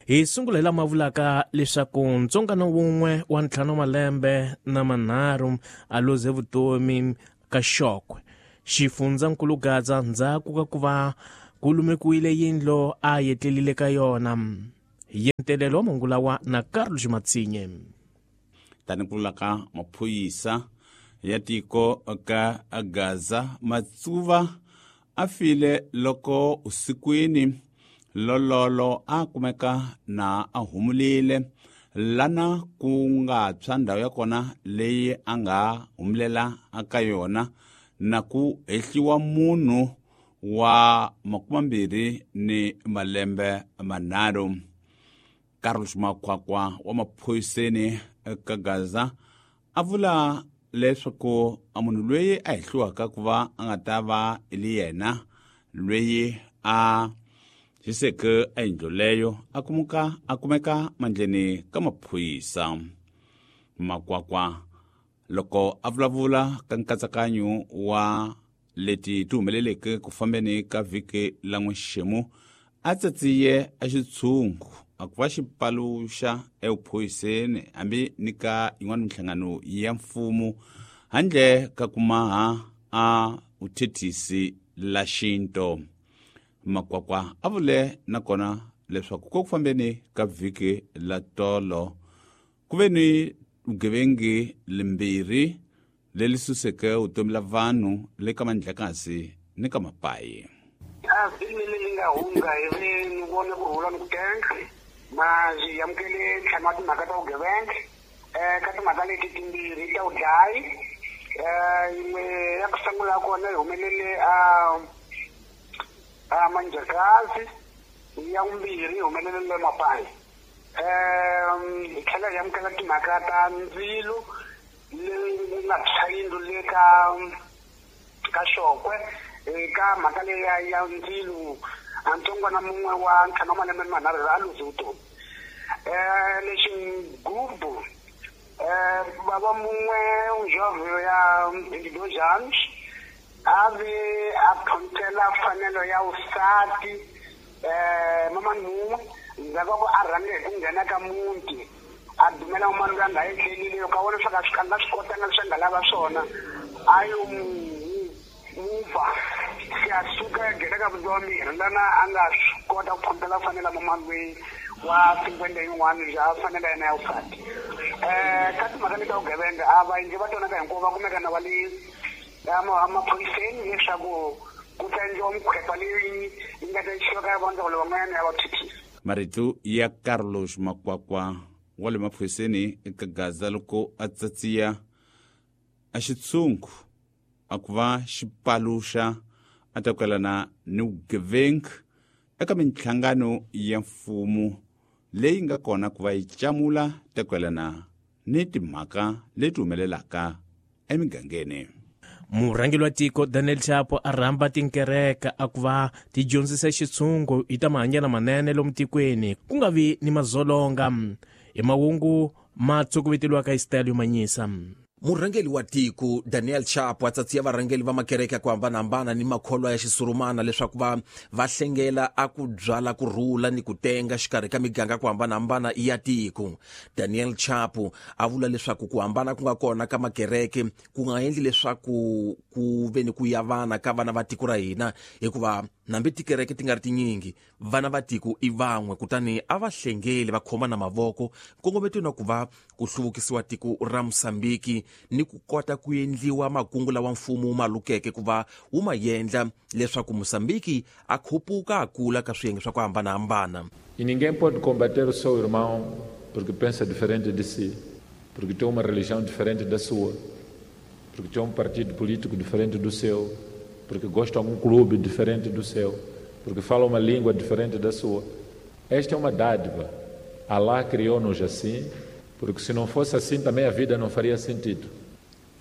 Hi sungula hi lama vulaka leswaku ntsongano wun'we wa 5 malembe na manharhu a luze vutomi ka Xokwe xifundzankulu Gaza ndzhaku ka ku va ku lumekiwile yindlo a yetlelile ka yona. Hi yentelelo wa mahungu lawa na Carlos Matsinye. Tani ku vula ka maphorisa ya tiko ka Gaza, Matsuva a file loko usikwini lololo a kumeka na a humulile lana ku nga tshwa ndhawu ya kona leyi a nga humulela ka yona na ku hehliwa munhu wa 23 ni malembe manharhu. Carlos Makwakwa wa maphoriseni ka Gaza a vula leswaku a munhu loyi a hehliwaka ku va a nga ta va li yena loyi a hiseke a yindlu leyo a kumeka mandleni ka maphorisa. Makwakwa loko a vulavula ka nkatsakanyo wa leti ti humeleleke ku fambeni ka vhiki la n'wexemu a tsatsiye a xitshungu a ku va xi paluxa evuphoriseni hambi ni ka yin'wana minhlangano ya mfumo handle ka ku maha a vuthethisi la xinto. Makwakwa a vule nakona leswaku ko ku fambeni ka vhiki la tolo ku ve ni vugevengi limbirhi leri suseke vutomi la vanhu le ka mandlakasi ni ka mapayi. A vhiki leri li nga hundza hi ve ni vone ku rhula ni ku tenga ma byi amukele ntlhanu wa timhaka ta vugevenga ka timhaka leti timbirhi ta vudlayi. Yin'we ya ku sungula kona yi humelele a Manjakazi, ya vumbirhi yi humelele le Mapayi. Hi tlhela hi amukela timhaka ta ndzilo leyi nga tshwa yindlu le ka Xokwe. Eka mhaka leyi ya ndzilo a ntsongwana mun'we wa 5 wa malembe ni manharhu a luze vutomi. Lexi gubu baba mun'we njovho ya 22 anos a ve a phontela fanelo ya vusati mamani mun'we ndzhaku ka ku a rhange hi ku nghena ka muti a dumela mamani loyi a nga etlelile loko a vona leswaku a nga swi kotanga leswi a nga lava swona a yo muva se a suka a nghena ka muti wa mirhi lana a nga swi kota ku phontela fanela mamani loyi wa 50 yin'wana bya fanela yena ya vusati. Ka timhaka leti ta vugevenga a va endli va twanaka hinkwavo va kumeka na va le emaphoriseni leswaku ku ta endliwa mikhwepa leyi yi nga ta yisiwa ka vandzawulo van'wanyana ya vathethisi. Marito ya Carlos Makwakwa wa le maphoriseni eka Gaza loko a tsatsiya a xitshungu a ku va xi paluxa a ta kwelana ni vugevenga eka minhlangano ya mfumo leyi nga kona ku va yi camula ta kwelana ni timhaka leti humelelaka emigangeni. Murhangeri wa tiko Daniel Chapo a rhamba tinkereke a ku va ti dyondzisa xitshungu hi ta mahanyelo manene lomu tikweni ku nga vi ni mazolonga. Hi mahungu ma tshukuveteliwaka hi style yo manyisa. Murhangeri wa tiko Daniel Chapo a tsatsiya varhangeri va makereke ku hambanahambana ni makholwa ya xisurumana leswaku va hlengela a ku byala ku rhula ni ku tenga xikarhi ka miganga ku hambanahambana ya tiko. Daniel Chapo a vula leswaku ku hambana ku nga kona ka makereke ku nga endli leswaku ku ve ni ku yavana ka vana va tiko ra hina, hikuva nambi tikereke ti nga ri tinyingi vana va tiko i van'we, kutani a va hlengeli va khoma na mavoko nkongometweni wa ku va ku hluvukisiwa tiko ra Mosambiki ni ku kota ku endliwa makungu lawa mfumo wu ma lukeke ku va wu ma endla leswaku Mosambiki a khupuka a kula ka swiyenge swa ku hambanahambana. E ninguém pode combater o seu irmão porque pensa diferente de si, porque tem uma religião diferente da sua, porque tem um partido político diferente do seu, porque gosta de algum clube diferente do seu, porque fala uma língua diferente da sua. Esta é uma dádiva. Allah criou-nos assim, porque se não fosse assim também a vida não faria sentido.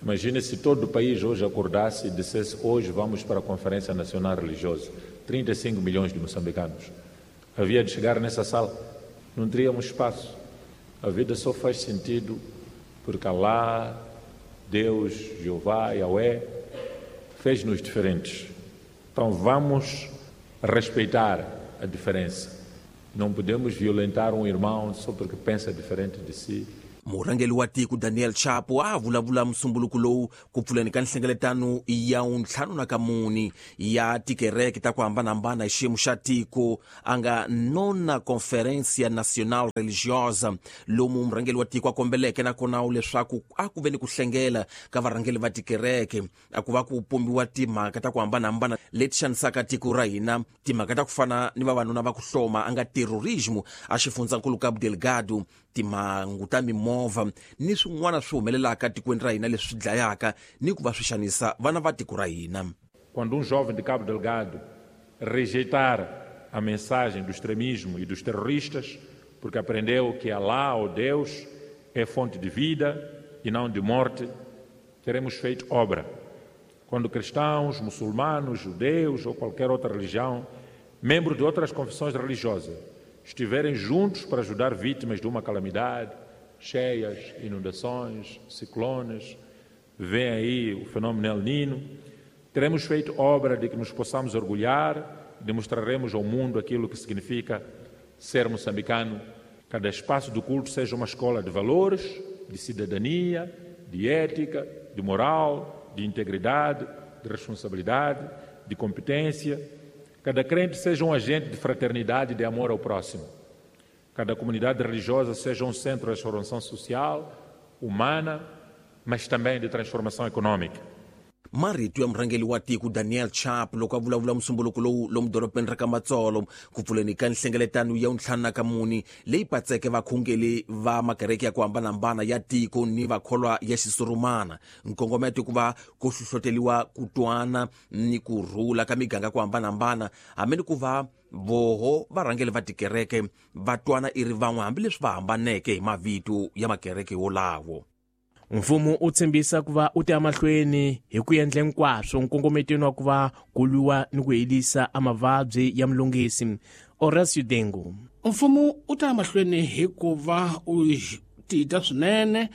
Imagine se todo o país hoje acordasse e dissesse: hoje vamos para a Conferência Nacional Religiosa, 35 milhões de moçambicanos. Havia de chegar nessa sala, não teríamos espaço. A vida só faz sentido porque Allah, Deus, Jeová, Yahweh, fez-nos diferentes. Então vamos respeitar a diferença. Não podemos violentar um irmão só porque pensa diferente de si. Murhangeri wa tiko Daniel Chapo a vulavula musumbuluko lowu ku pfuleni ka nhlengeletano ya 54 ya tikereke ta ku hambanahambana hi xiyimo xa tiko a nga nona Conferência Nacional Religiosa, lomu murhangeri wa tiko a kombeleke nakona leswaku a ku ve ni ku hlengela ka varhangeri va tikereke a ku va ku pombiwa timhaka ta ku hambanahambana leti xanisaka tiko ra hina, timhaka ta ku fana ni vavanuna va ku hloma a nga terrorismo a xifundzankulu Cabo Delgado, timhangu ta mimovha ni swin'wana swi humelelaka tikweni ra hina leswi dlayaka ni ku va swi xanisa vana va tiko ra hina. Quando um jovem de Cabo Delgado rejeitar a mensagem do extremismo e dos terroristas, porque aprendeu que Allah ou Deus é fonte de vida e não de morte, teremos feito obra. Quando cristãos, muçulmanos, judeus ou qualquer outra religião, membros de outras confissões religiosas, estiverem juntos para ajudar vítimas de uma calamidade, cheias, inundações, ciclones, vem aí o fenômeno El Nino, teremos feito obra de que nos possamos orgulhar e demonstraremos ao mundo aquilo que significa ser moçambicano. Cada espaço do culto seja uma escola de valores, de cidadania, de ética, de moral, de integridade, de responsabilidade, de competência. Cada crente seja um agente de fraternidade e de amor ao próximo. Cada comunidade religiosa seja um centro de transformação social, humana, mas também de transformação econômica. Marito ya murhangeri wa tiko Daniel Chapo loko a vulavula musumbuluko lowu lomu dorobeni ra ka Matsolo ku pfuleni ka nhlengeletano ya 54 leyi patseke vakhongeli va makereke ya ku hambanahambana ya tiko ni vakholwa ya xisurumana. Nkongometo ku va ku hlohloteliwa ku twana ni ku rhula ka miganga ku hambanahambana, hambi ni ku va voho varhangeri va tikereke va twana i ri van'we hambileswi va hambaneke hi mavito ya makereke wolawo. Mfumo u tshembisa ku va u ta emahlweni hi ku endla hinkwaswo nkongometweni wa ku va ku lwiwa ni ku herisa a mavabyi ya mulungisi. Horacio Dengo. Mfumo u ta emahlweni hi ku va u tita swinene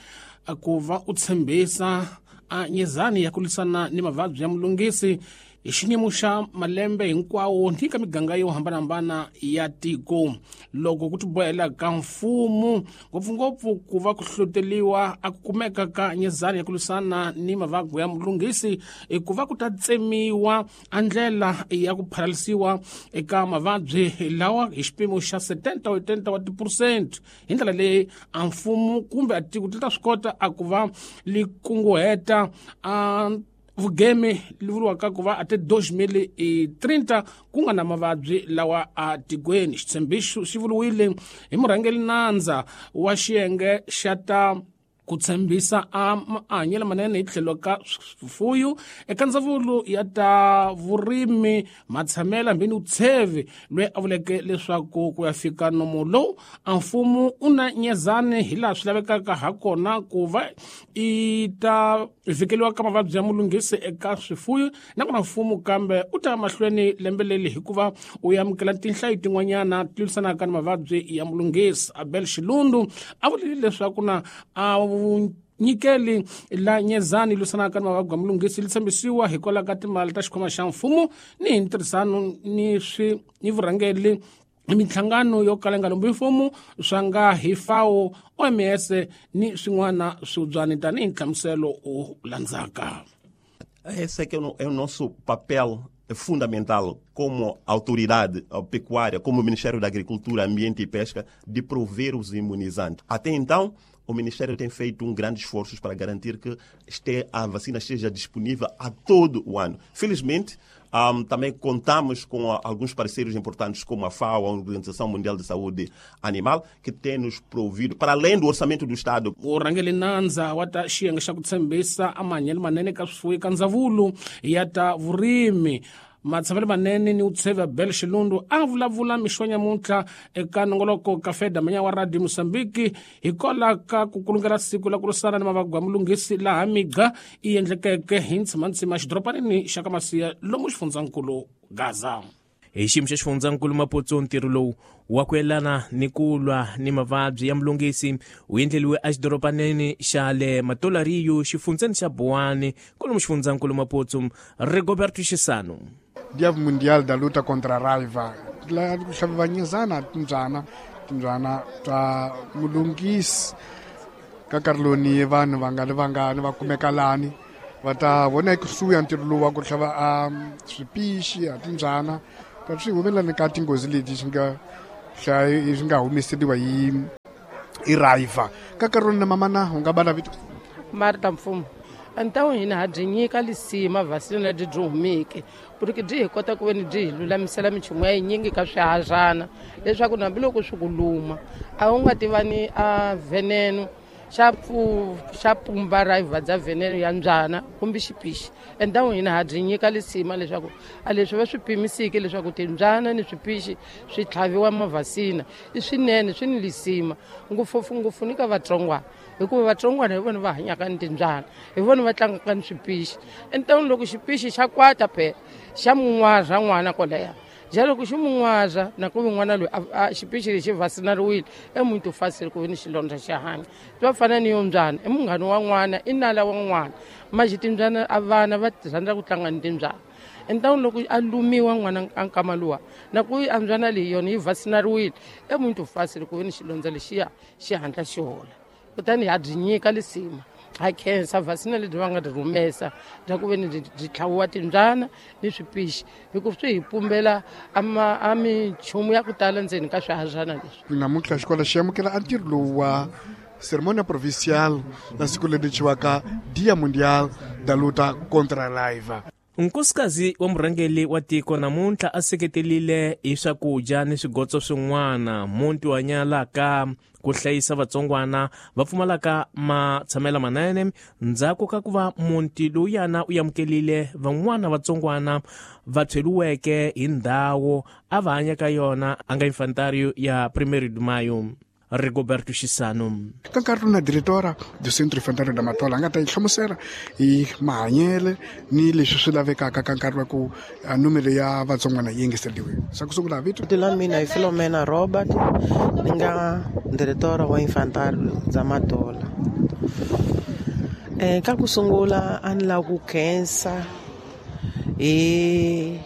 ku va u tshembisa a nyezani ya ku lwisana ni mavabyi ya mulungisi hi xiyimo xa malembe hinkwawo ni ka miganga yo hambanahambana ya tiko. Loko ku tibohela ka mfumo ngopfungopfu ku va ku hlohloteliwa a ku kumeka ka nyezani ya ku lwisana ni mavabyi ya mulunghisi i ku va ku ta tsemiwa a ndlela ya ku phalalisiwa eka mavabyi lawa hi xipimo xa 70 wa tiphesente. Hi ndlela leyi a mfumo kumbe a tiko ti ta swi kota a ku va li kunguheta a vugeme li vuriwaka ku va ate 2030 ku nga na mavabyi lawa a tikweni. Xitshembiso xi vuriwile hi murhangeri nandza wa xiyenge xa ta ku tshembisa a mahanyelo manene hi tlhelo ka swifuyo eka ndzawulo ya ta vurimi matshamela hambi ni vutshevi, loyi a vuleke leswaku ku ya fika nomo lowu a mfumo u na nyezani hi laha swi lavekaka ha kona ku va i ta vhikeliwa ka mavabyi ya mulunghisi eka swifuyo. Nakona mfumo kambe u ta mahlweni lembe leri hikuva u amukela tinhlayo tin'wanyana ti lwisanaka ni mavabyi ya mulunghisi. Abel Xilundu a vulile leswaku na a nyikeli la nyezani lwisanaka ni mavabyi ya mulunghisi li tshembisiwa hikwalaho ka timali ta xikhwama xa mfumo ni hi ntirhisano ni swi ni vurhangeri minhlangano yo kala nga lombi mfumo swa nga hi FAO, OMS ni swin'wana swibyani tanihi nhlamuselo u landzaka. Esse é que é o nosso papel fundamental como autoridade pecuária, como Ministério da Agricultura, Ambiente e Pesca, de prover os imunizantes. Até então, o Ministério tem feito um grande esforço para garantir que a vacina esteja disponível a todo o ano. Felizmente, também contamos com alguns parceiros importantes como a FAO, a Organização Mundial de Saúde Animal, que tem nos provido, para além do orçamento do Estado. Urhangeri nandza wa ta xiyenge xa ku tshembisa a mahanyelo manene ka swifuwo eka ndzawulo ya ta vurimi matshamelo manene ni utshevi Abel Xilundu a vulavula mixo nyamuntlha eka nongoloko ka Feda Manya wa Radio Mozambique hikwalaho ka ku kulungela siku la ku lwisana ni mavabyi ya mulunghisi laha migqa i endlekeke hi ntsimantsima xidoropanini xa ka Masiya lomu xifundzankulu Gaza. Hi xiyimo xa xifundzankulu Maputo, ntirho lowu wa ku yelana ni ku lwa ni mavabyi ya mulunghisi wu endleliwe exidoropanini xa le Matolariyo xifundzeni xa Buwani kwalomu xifundzankulu Maputo. Rigoberto Xisano. Dia Mundial da Luta contra a Raiva La ku hlaviwa nyizana timbyana timbyana ta mulungisi ka nkarhi lowu ni vanhu vangani vangani va kumeka lani va ta vona ekusuhi ya ntirho lowu wa ku hlava a swipixi a timbyana ta swi humelelani ka tinghozi leti swi nga swi nga humeseriwa hi hi raiva ka nkarhi lowu na mamana u nga bala vito. Marta Mfumo antawu hina ha byi nyika lisima vasina lebyi byi humeke porque byi hi kota ku veni byi hi lulamisela minchumu ya yinyingi ka swihadyana leswaku hambiloko swi ku luma a wu nga tivani a veneno xa xa pumba ra bya veneno ya mbyana kumbe xipixi. Endhawu hina ha byi nyika lisima leswaku a leswi va swi pimisiki leswaku timbyana ni swipixi swi tlhaviwa mavhasina i swinene swi ni lisima ngopfungopfu ni ka vatsongwana hikuva vatsongwana hi vona va hanyaka ni timbyana hi vona va tlangaka ni swipixi. Entawini loko xipixi xa kwata phela xa mun'waza n'wana kwalaya ja loko xi mun'waza na ku n'wana loyi a xipixi lexi vasinariwile emuti u fasile ku ve ni xilondza xa hanya swi va fana ni yo mbyana i munghana wa n'wana i nala wa n'wana maxi timbyana a vana va rhandza ku tlanga ni timbyana. Entawini loko a lumiwa n'wana a nkama luwa na ku a mbyana leyi yona yi vasinariwile emuti u fasile ku ve ni xilondza lexiya xi hatla xi hola kutani ha byi nyika lisima ha khensa vasina lebyi va nga byi rhumesa bya ku ve ni byi tlhaviwa timbyana ni swipixi hikuva swi hi pumbela a minchumu ya ku tala ndzeni ka swihadyana leswi. Namuntlha xikolo xi amukela a ntirho lowu wa ceremonia provincial na siku leri thyiwaka Dia Mundial da Luta contra Raiva. Nkosikazi wa murhangeri wa tiko namuntlha a seketelile hi swakudya ni swigotso swin'wana muti wa nyalaka ku hlayisa vatsongwana va pfumalaka matshamelo manene ndzhaku ka ku va muti lowuyana u amukelile van'wana vatsongwana va tshweliweke hi ndhawu a va hanya ka yona a nga infantario ya 1 de Maio. Rigoberto Xisano. Ka nkarhi na diretora do Centro Infantário da Matola a nga ta yi hlamusela hi mahanyele ni leswi swi lavekaka ka nkarhi wa ku numero ya vatsongwana yi engeteriwe. Sa ku sungula vito la mina hi Filomena Robert, ni nga diretora wa Infantário da Matola. Ka ku sungula a ni lava ku khensa hi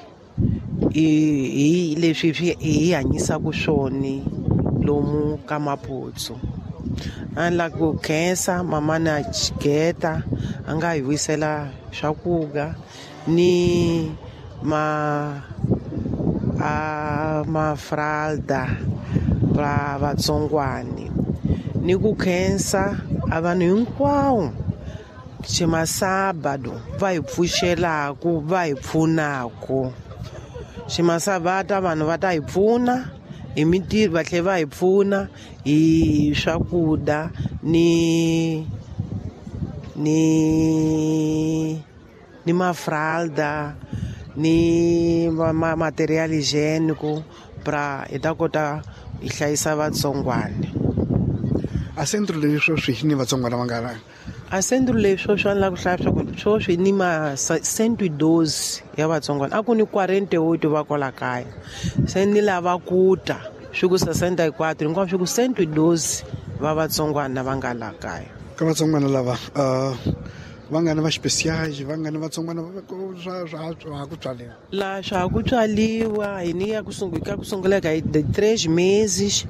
hi leswi hi hanyisaka swona lomu ka Maputsu. A ni lava ku khensa mama na Chigeta a nga hi wisela swakudya ni ma a mafralda ra vatsongwani ni ku khensa a vanhu hinkwawo ximasabado va hi pfuxelaku va hi pfunaku. Ximasabata vanhu va ta hi pfuna hi mintirho va tlhela va hi pfuna hi swakudya ni ni ni mafralda ni ma material higiênico pra hi ta kota hi hlayisa vatsongwana. A centro leswi swi ni vatsongwana va nga la a centro leswi swa la ku hlaya swa ku sweswi ni ma 112 ya vatsongwana a ku ni 48 va kwala kaya se ni lava ku ta swi ku 64 hinkwaswo swi ku 112 va vatsongwana va nga la kaya. Ka vatsongwana lava va nga ni va speciais va nga ni vatsongwana swa swa ku tswaliwa la swa ku tswaliwa hi ni ya ku sungula ka ku sungula ka de 3 meses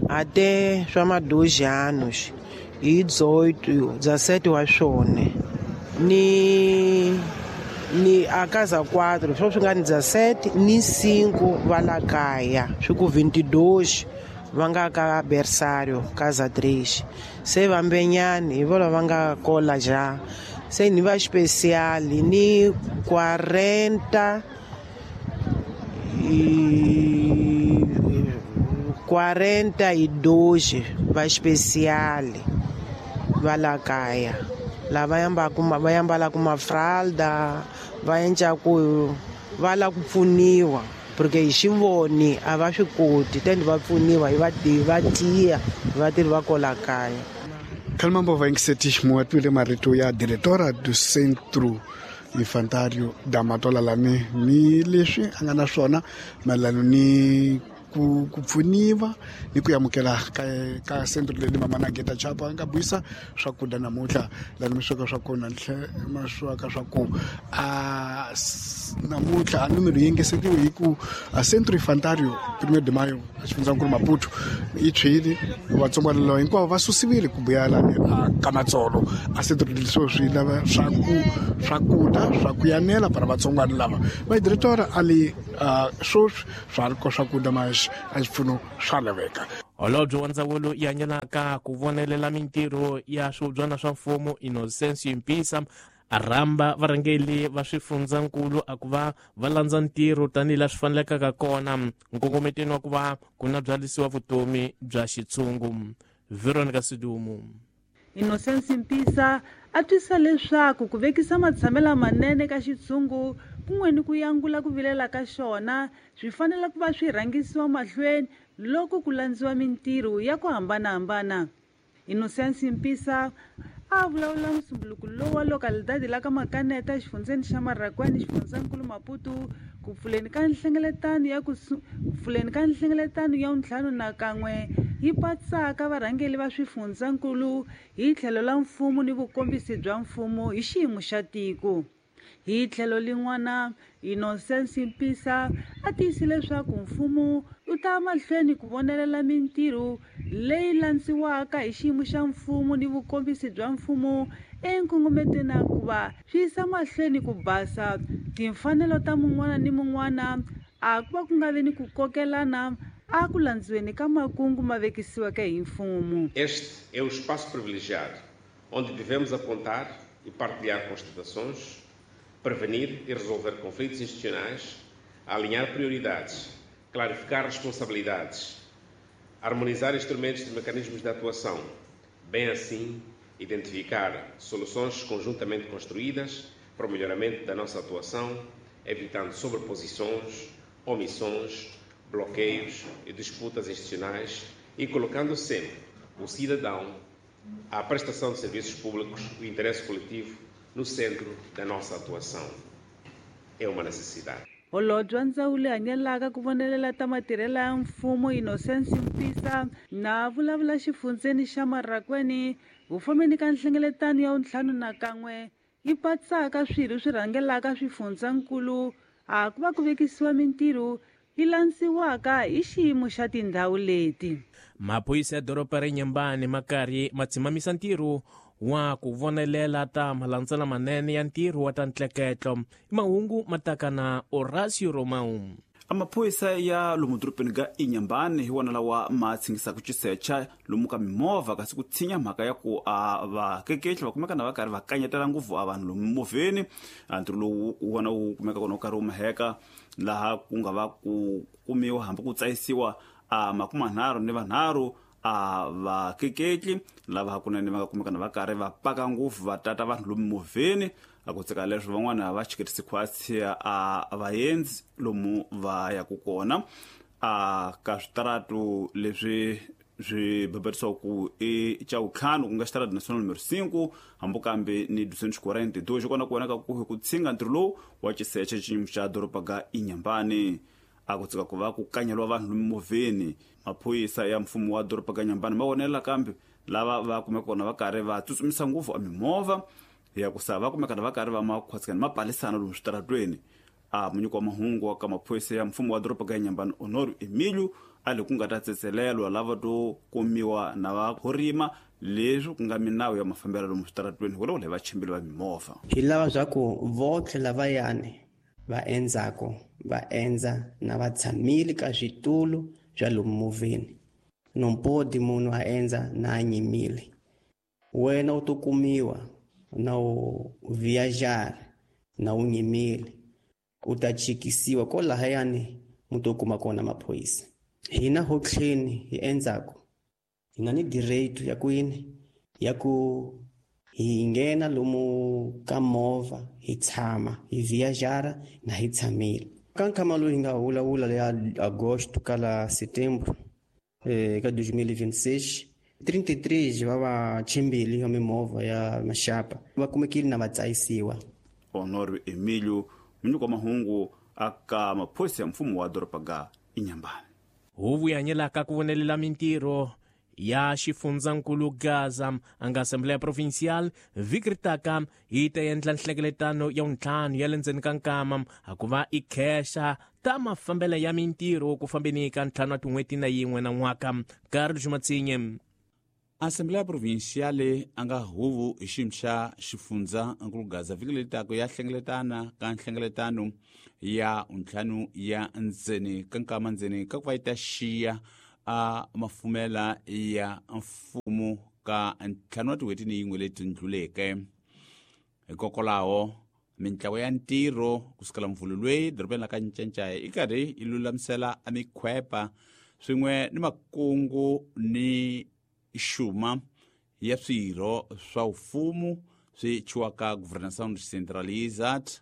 até swa ma 2 anos hi 18 17 wa swona ni ni a casa 4 swo swi nga ni 17 ni 5 va la kaya swi ku 22 va nga ka berçário casa 3 se vambenyani hi vona va nga kola ja se ni va especial ni 40 42 va especial va la kaya lava yambalaka mafralda va endlaku va lava ku pfuniwa porque hi xivoni a va swi koti tende va pfuniwa hi va tiya vatirhi va kola kaya. Kalmambo va yingiseti muwatwile marito ya diretora do Centro Infantário da Matola lani ni leswi a nga na swona mayelana ni ku pfuniwa ni ku amukela ka centro leyi Mamana Geta Chapa nga buisa swakudya namuntlha lani mi sweka swa kona ma sweka swa ku a namuntlha a numero yi engesetiwe hi ku a Centro Infantario 1 de Maio a xifundzankulu Maputo yi tshwile vatsongwana lava hinkwavo va susiwile ku buya lani a ka Matsolo a centro leswo swi lava swakudya swa ku yanela para vatsongwana lava va director a li sweswi swa ri ko swakudya mas a xipfuno swa laveka. Holobye wa ndzawulo yi hanyelaka ku vonelela mintirho ya swihubyana swa mfumo Innocencio Mpisa a rhamba varhangeli va swifundzankulu a ku va va landza ntirho tanihi laha swi fanelekaka kona nkongometweni wa ku va ku na byalisiwa vutomi bya xitshungu. Veronica Sidumu. Innocencio Mpisa a twisa leswaku ku vekisa matshamelo manene ka xitshungu kun'we ni ku yangula ku vilela ka xona swi fanele ku va swi rhangisiwa mahlweni loko ku landziwa mintirho ya ku hambanahambana. Innocencio Mpisa a vulavula musumbuluko lowu wa localidade la ka Makaneta exifundzeni xa Marracuene xifundzankulu Maputo ku pfuleni ka nhlengeletano ya 51 yi patsaka varhangeli va swifundzankulu hi tlhelo la mfumo ni vukombisi bya mfumo hi xiyimo xa tiko. Hi tlhelo lin'wana Innocencio Mpisa a tiyise leswaku mfumo wu ta mahlweni ku vonelela mintirho leyi landziwaka hi xiyimo xa mfumo ni vukombisi bya mfumo enkongometweni ku va swi yisa mahlweni ku basa timfanelo ta mun'wana ni mun'wana a ku va ku nga vi ni ku kokelana a ku landziweni ka makungu ma vekisiweke hi mfumo. Este é o espaço privilegiado onde devemos apontar e partilhar constatações, prevenir e resolver conflitos institucionais, alinhar prioridades, clarificar responsabilidades, harmonizar instrumentos e mecanismos de atuação, bem assim identificar soluções conjuntamente construídas para o melhoramento da nossa atuação, evitando sobreposições, omissões, bloqueios e disputas institucionais e colocando sempre o cidadão, a prestação de serviços públicos e o interesse coletivo no centro da nossa atuação. É uma necessidade. Holobye wa ndzawulo hanyelaka ku vonelela ta matirhelo ya mfumo Innocencio Mpisa na vulavula xifundzeni xa Marracuene vufomeni ka nhlengeletano ya 51 yi patsaka swirho swi rhangelaka swifundzankulu a ku va ku vekisiwa mintirho yi landziwaka hi xiyimo xa tindhawu leti. Maphorisa ya doroba ra Inhambane ma karhi ma tshimamisa ntirho wa ku vonelela ta malandzela manene ya ntirho wa ta ntleketlo. Mahungu mataka na Horacio Romão. Amaphoyisa ya lomu dorobeni ga Inhambane hi wona lawa ma tshingisaka xisecha lomu ka mimovha kasi ku tshinya mhaka ya ku a vakeketli va kumeka na va karhi va kanyetela ngopfu a vanhu lomu mimovheni. Ntirho lowu wona wu kumeka kona wu karhi wu maheka laha ku nga va ku kumiwa hambi ku tsayisiwa a 33 a vakeketli lava hakunene va nga kumeka na va karhi va paka ngopfu va tata vanhu lomu mimovheni. A ku tseka leswi van'wana va chiketisi khwatsi a vaendzi lomu va yaku kona a ka switaratu leswi swi babarisiwa ku i xa vutlhanu ku nga xitaratu national numero 5 hambi kambe ni 242 xi kona ku vonaka ku hi ku tshinga ntirho lowu wa xiseche xiyimo xa doroba ga Inhambane. A ku tseka ku va ku kanyeliwa vanhu lomu mimovheni. Maphorisa ya mfumo wa doroba ga Inhambane ma vonela kambe lava va kumeka kona va karhi va tsutsumisa ngopfu a mimovha ya ku sava kumeka va karhi va makhwatsikana ma palisana lomu switaratweni. A munyiko wa mahungu wa ka maphorisa ya mfumo wa doroba ga Inhambane Honório Emílio a le ku nga ta tsetselelwa lava to kumiwa na va horima leswi ku nga minawu ya mafambelo lomu switaratweni hikwalaho le vachimbili va mimovha. Hi lava swa ku votlhe lavayani va endzako va endza na va tshamile ka switulu swa lomu movheni. No pode munhu a endza na a nyimile. Wena u to kumiwa na u viajar na u nyimile u ta chikisiwa ko lahayani mu to kuma kona maphorisa. Hina ho tlheni hi endzako hi na ni direito ya ku yini ya ku hi nghena lomu ka movha hi tshama hi viajara na hi tshamile. Ka nkhama lowu hi nga vulavula ya agosto ka la setembro ka 2026 33 va vachimbili va mimovha ya maxapa va kumekile na va tsayisiwa. Honório Emílio munyiko wa mahungu aka maphorisa ya mfumo wa doroba ga Inhambane. Huvo yi hanyelaka ku vonelela mintirho ya xifundzankulu Gaza a nga Assembleia Provincial vhiki ri taka yi ta endla nhlengeletano ya vuntlhanu ya le ndzeni ka nkama a ku va i khexa ta mafambelo ya mintirho ku fambeni ka 5 wa tin'hweti na yin'we na n'waka. Carlos Matsinye. Assembleia Provincial a nga huvo hi xiyimo xa xifundza nkulu Gaza vhiki leri taka ya hlengeletana ka nhlengeletano ya ntlhanu ya ndzeni ka nkama ndzeni ka ku va yi ta xiya a mafumela ya mfumo ka 5 wa tin'hweti ni yin'we leti ndluleke. Hikokwalaho mintlawa ya ntirho kusukela mvhulu lweyi dorobeni la ka Ncancaya i karhi yi lulamisela a mikhwepa swin'we ni makungu ni xuma ya swirho swa mfumo swi chiwaka Governação Descentralizada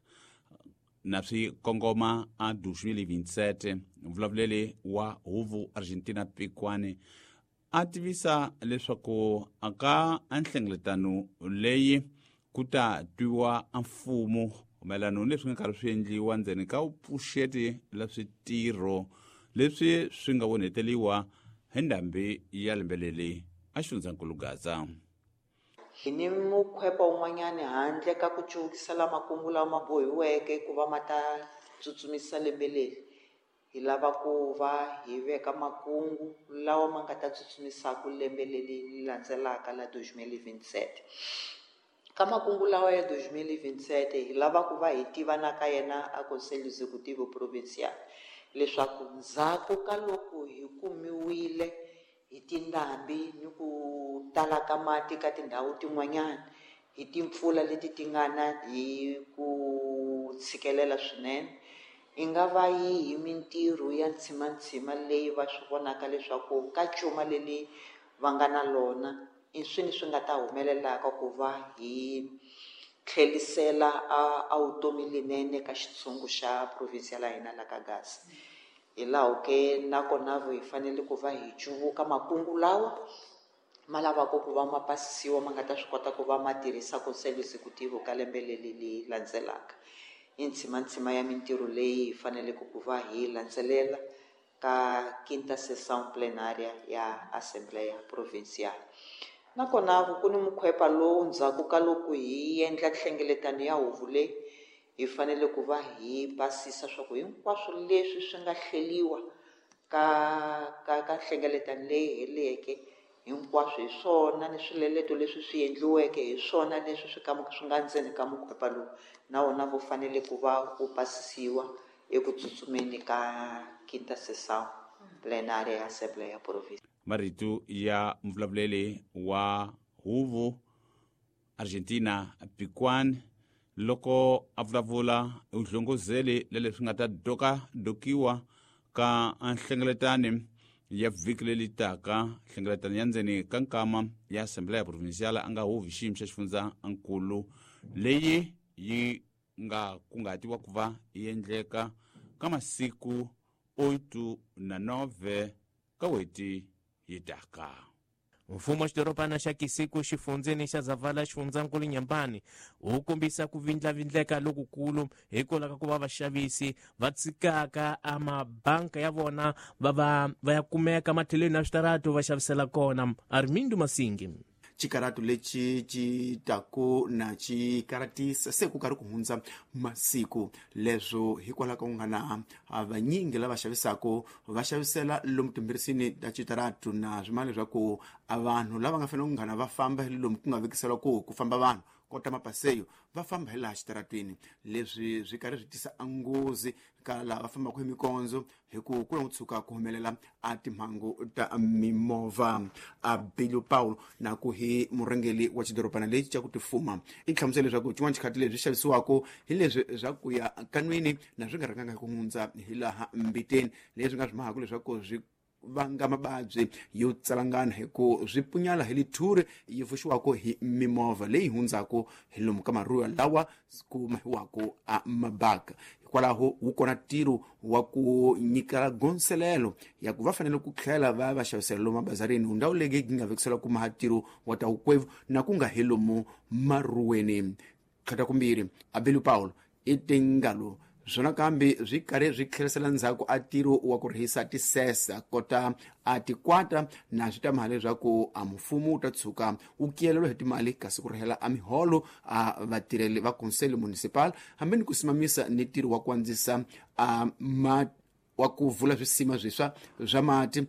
na swi kongoma a 2027. Mvulavuleli wa huvo Argentina Pikwani a tivisa leswaku aka nhlengeletano leyi ku ta twiwa mfumo mayelana ni leswi nga karhi swi endliwa ndzeni ka vupfuxeti la switirho leswi swi nga vonheteliwa hi ndhambi ya lembe leri a xifundzankulu Gaza. Hi ni mukhwepa wun'wanyani handle ka ku cuvukisela makungu lawa ma bohiweke ku va ma ta tsutsumisa lembe leri. Hi lava ku va hi veka makungu lawa ma nga ta tsutsumisaka lembe leri landzelaka la 2027. Ka makungu lawa ya 2027 hi lava ku va hi tiva na ka yena a Conselho Executivo Provincial leswaku ndzhaku ka loko hi kumiwile hi tindhambi ni ku tala ka mati ka tindhawu tin'wanyana hi timpfula leti ti nga na hi ku tshikelela swinene, i nga va yihi mintirho ya ntshimantsima leyi va swi vonaka leswaku ka cuma leri va nga na lona i swini swi nga ta humelelaka ku va hi tlhelisela a vutomi lenene ka xitshungu xa province ya hina la ka Gaza. Hi laho ke nakona hi fanele ku va hi cuvuka makungu lawa ma lavaka ku va ma pasisiwa ma nga ta swi kota ku va ma tirhisa Conselho Executivo ka lembe leri leri landzelaka. I ntshimantsima ya mintirho leyi hi faneleke ku va hi landzelela ka quinta sessão plenária ya Assembleia Provincial. Nakona ku ni mukhwepa lowu ndzhaku ka loko hi endla nhlengeletano ya huvo leyi hi fanele ku va hi pasisa swa ku hinkwaswo leswi swi nga hleliwa ka nhlengeletano leyi heleke hinkwaswo hi swona ni swileleto leswi swi endliweke hi swona leswi swi swi nga ndzeni ka mukhwepa lowu na wona wu fanele ku va wu pasisiwa eku tsutsumeni ka quinta sessão plenária ya Assembleia Provincial. Marito ya mvulavuleli wa huvo Argentina Piquan loko a vulavula uhlongozeli leswi nga ta dokiwa ka nhlengeletano ya vhiki leri taka, nhlengeletano ya ndzeni ka nkama ya Assembleia Provincial a nga huvi xiyimo xa xifundzankulu leyi yi nga kungatiwa ku va yi endleka ka masiku 8 na 9 ka weti yi taka. Mfumo wa xidorobana xa Kisiku xifundzeni xa Zavala xifundzankulu Nyambani wu kombisa ku vindlavindleka lokukulu hikwalaho ka ku va vaxavisi va tshikaka a mabanka ya vona va ya kumeka matlhelweni ya switaratu va xavisela kona. Armindo Masingi. Chikaratu lechi chitaku na chikaratisa se ku karhi ku hundza masiku leswo hikwalaho ka ku nga na vanyingi lava xavisaka va xavisela lomu timbirisini ta chitaratu na swimana leswaku a vanhu lava nga fanele ku nghana va famba hi lomu ku nga vekisela ku famba vanhu kota mapaseyo va famba hi laha xitaratwini. Leswi swi karhi swi tisa nghozi ka lava va fambaka hi mikondzo hi ku ku tshuka ku humelela a timhangu ta mimovha. A Bilio Paulo na ku hi murhangeri wa xidorobana lexi xa ku tifuma i hlamusela leswaku xin'wana xikhathi leswi xavisiwaka hi leswi swa ku ya kanwini na swi nga rhanganga hi ku hundza hi laha mbiteni leswi nga swi mahaka leswaku swi vanga mababyi yo tsalangana hi ku swi punyala hi lithuri yi vuxiwaka hi mimovha leyi hundzaka hi lomu ka maruya lawa ku mahiwaka a mabaka. Hikwalaho wu kona ntirho wa ku nyika gonselelo ya ku va fanele ku tlhela va va xavisela lomu mabazarini ndhawu leyi yi nga vekisela ku maha ntirho wa ta wukwevu na ku nga hi lomu maruweni. Tlhata kumbirhi Abelu Paulo i tingalo Swona kambe swi karhi swi tlherisela ndzhaku a ntirho wa ku rihisa tisesa kota a tikwata na swi ta mali leswaku a mfumo wu ta tshuka wu kiyelelwa hi timali kasi ku rihela a miholo a vatirheli va conselho municipal hambi ni ku simamisa ni ntirho wa ku andzisa a wa ku vula swisima swiswa swa mati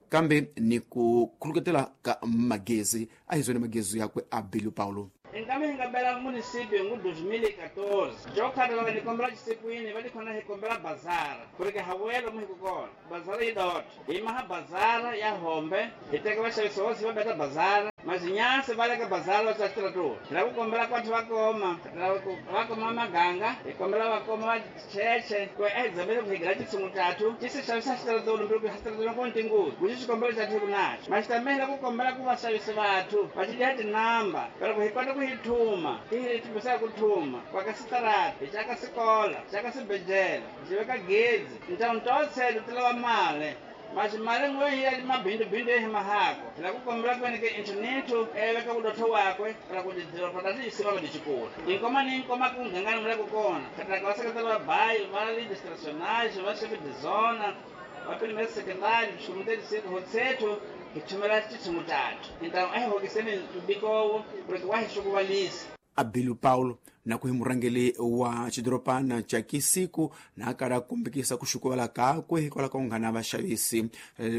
kambe ni ku khuluketela ka magezi a hi zwona magezi yakwe a Bilu Paulo. Inkambe hi nga bela municipio hi 2014 jo khata va ni kombela xisikwini va tikhona hi kombela bazara ku ri ke hawelo mu hi ku kona bazara yi dot hi maha bazara ya hombe hi teka vaxavisi vosi va beta bazara mazinyasi va le ka bazara va tsa xitratulu hi lava ku kombela kwathu va koma va koma maganga hi kombela va koma va cheche ku a hi dzamele ku hi gira titshungu tatu ti se xavisa xitratulu mbi ku xitratulu ku ni tinghozi ku xi xikombelo xa thi ku naxo maxitamela ku kombela ku vaxavisi vathu va xi dya tinamba pero ku hi kota ku hi thuma ti hi thumbisa ku thuma kwa ka sitarata hi caka sikola caka swibedhlele hi veka gezi ntawu ntotselo ti lava mali maxi mali n'we hi ya mabindubindu hi mahako hi lava ku kombela ku veni ke internethu veka vudotho wakwe ra ku tidoroba ta tiyisiva va tichikula tinkoma ni nkoma ku nghangani mi le ku kona khataka va seketela va bayi va legislationage va chef de zona va primary secondary swimuteti hotsethu hi thumela titshungu tatu hintawu a hi hokiseni mbikowo ku ri wa hi xukuvalisa. Abilu Paulo na ku hi murhangeli wa xidorobana xa Kisiku na kala kumbekisa ku xukuvala kakwe hikwalaho ka ku nga na vaxavisi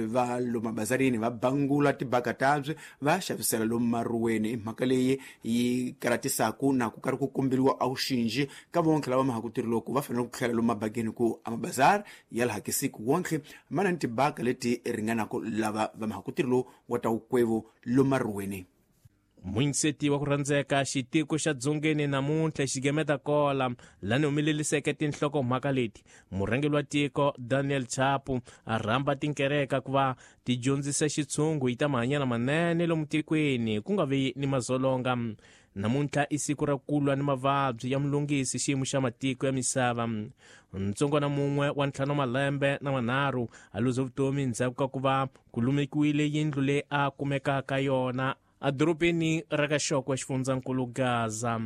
va lomu mabazarini va bangula tibaka tabye va xavisela lomu maruweni. I mhaka leyi yi karatisaku na ku karhi ku komberiwa a wuxinji ka vontlhe lava mahaku tirhi loko va fanele ku tlhela lomu mabakeni ku a mabazari ya laha Kisiku wontlhe ma na ni tibaka leti ringanaku lava va mahaku tirhi lowu wa ta wukwevo lomu maruweni. Muyinseti wa ku rhandzeka xitiko xa dzongeni namuntlha xigemeta kola lani humeleliseke tinhlokomhaka leti murhangeri wa tiko Daniel Chapo a rhamba tinkereka ku va ti dyondzisa xitshungu hi ta mahanyelo manene lomu tikweni ku nga vi ni mazolonga. Namuntlha i siku ra ku lwa ni mavabyi ya mulungisi xiyimo xa matiko ya misava. Ntsongwana mun'we wa 5 malembe na 3 a luze vutomi ndzhaku ka ku va ku lumekiwile yindlu leyi a kumekaka yona a dorobeni ra ka Xokwe xifundzankulu Gaza.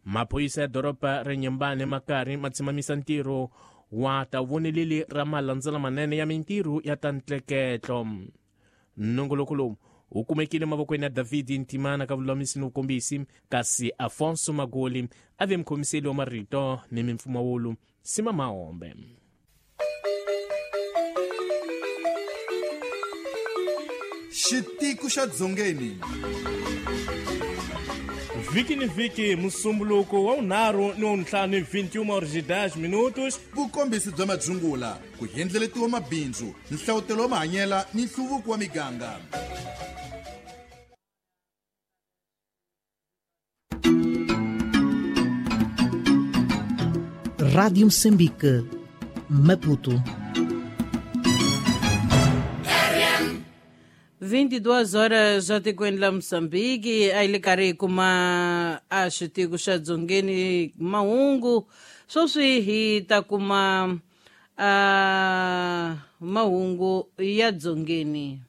Maphorisa ya doroba ra Nyembane ma karhi ma tshimamisa ntirho wa ta voneleli ra malandzela manene ya mintirho ya ta ntleketlo. Nongoloko lowu wu kumekile mavokweni ya David Ntimana ka vululamisi ni vukombisi, kasi Afonso Magoli a ve mukhomiseli wa marito ni mimpfumawulo Sima Mahombe. Xitiko xa Dzongeni. Vhiki ni vhiki musumbuluko wa 5 ni wa 5 21h10. Vukombisi bya madzungula, ku hendleletiwa mabindzu, nhlawutelo wa mahanyela ni nhluvuko wa miganga. Rádio Moçambique, Maputo. 22 horas atikweni la Moçambique, a yi le karhi hi kuma a xitiko xa Dzongeni mahungu. Sweswi hi ta kuma a mahungu ya Dzongeni.